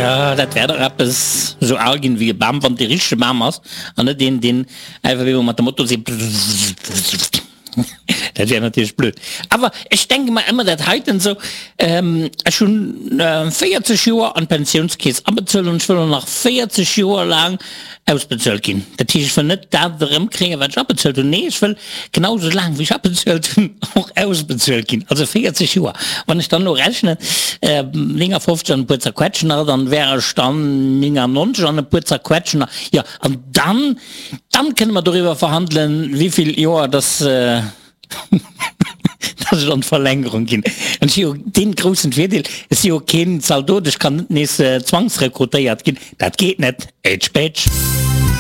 Jo, dat wär dach eppes, esou al ginn wéi e Bam, wann et dee richtege Bam ass an net een, deen einfach ewell mat der Motosee. Dat wär natierlech blöd. Awer ech denke mer ëmmer dat heiten esou, ech hunn 40 Joer an d'Pensiounskeess abezuelt an ech wëll och nach 40 Joer laang ausbezuelt ginn. Dat heescht, ech wëll net dat erëmkréien, wat ech abezuelt hunn, nee, ech wëll genau esou laang, wéi ech abezuelt hunn, och ausbezuelt ginn, also 40 Joer. Wann ech dann elo rechnen, 59 an e puer Zerquetschen nach, dann wär ech dann 99 an e puer Zerquetschen nach, jo, an dann, dann kënne mer doriwwer verhandelen, wéivill Joer dass. Dass ech an d'Verlängerung ginn. An ech hu jo dee groussen Virdeel, ech si jo keen Zaldot, ech kann net nees zwangsrekrutéiert ginn. Dat geet net. Ätsch bätsch.